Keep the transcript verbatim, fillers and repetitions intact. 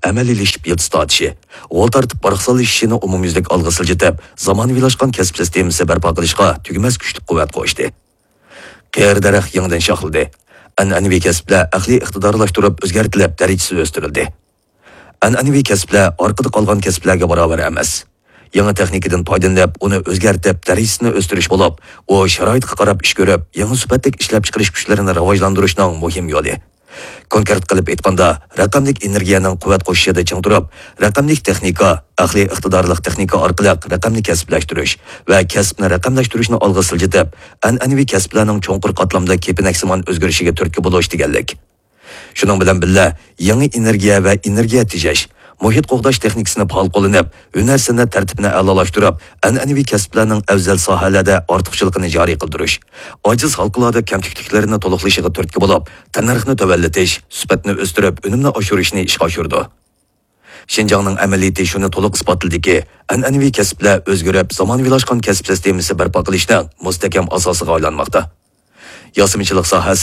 ئەمەلىيلىشىپ يىلتىز تارتىشى، غول تارتىپ پاراقسانلىشىشىنى ئومۇميۈزلۈك ئالغا سىلجىتىپ، زامانىۋىلاشقان كەسىپ سىستېمىسى بەرپا قىلىشقا تۈگىمەس كۈچلۈك قۇۋۋەت قوشتى. قېرى دەرەخ يېڭىدىن شاخلىدى. ئەنئەنىۋى كەسىپلەر ئەقلىي ئىقتىدارلاشتۇرۇپ ئۆزگەرتىلىپ، دەرىجىسى ئۆستۈرۈلدى. ئەنئەنىۋى كەسىپلەر ئارقىدا قالغان كەسىپلەرگە باراۋەر ئەمەس. يېڭى تېخنىكىدىن پايدىلىنىپ، ئۇنى ئۆزگەرتىپ، دەرىجىسىنى ئۆستۈرۈش بولۇپ، ئۇ شارائىتقا قاراپ ئىش كۆرۈپ، يېڭى سۈپەتلىك ئىشلەپچىقىرىش كۈچلىرىنى راۋاجلاندۇرۇشنىڭ مۇھىم يولى. كونكرېت قىلىپ ئېيتقاندا، رەقەملىك ئېنېرگىيەنىڭ قۇۋۋەت قوشۇشىدا چىڭ تۇرۇپ، رەقەملىك تېخنىكا، ئەقلىي ئىقتىدارلىق تېخنىكا ئارقىلىق رەقەمنى كەسىپلەشتۈرۈش ۋە كەسىپنى رەقەملەشتۈرۈشنى ئالغا سىلجىتىپ، ئەنئەنىۋى كەسىپلەرنىڭ چوڭقۇر قاتلامدا كېپىنەكسىمان ئۆزگىرىشىگە تۈرتكە بولۇش دېگەنلىك. شۇنىڭ بىلەن بىللە، يېڭى ئېنېرگىيە ۋە ئېنېرگىيە تېجەش، مۇھىت قوغداش تېخنىكىسىنى پائال قوللىنىپ، ھۈنەر سەنئەت تەرتىپىنى ئەلالاشتۇرۇپ، ئەنئەنىۋى كەسىپلەرنىڭ ئەۋزەل ساھەلەردە ئارتۇقچىلىقىنى جارى قىلدۇرۇش، ئاجىز ھالقىلاردا كەمتۈكلۈكلىرىنى تولۇقلىشىغا تۈرتكە بولۇپ، تەننەرخنى تۆۋەنلىتىش، سۈپەتنى ئۆستۈرۈپ، ئۈنۈمنى ئاشۇرۇشنى ئىشقا ئاشۇرىدۇ. شىنجاڭنىڭ ئەمەلىيىتى شۇنى تولۇق ئىسپاتلىدىكى، ئەنئەنىۋى كەسىپلەر ئۆزگىرىپ، زامانىۋىلاشقان كەسىپ سىستېمىسى بەرپا قىلىشنىڭ مۇستەھكەم ئاساسىغا ئايلانماقتا. ياسىمىچىلىق ساھەسىدە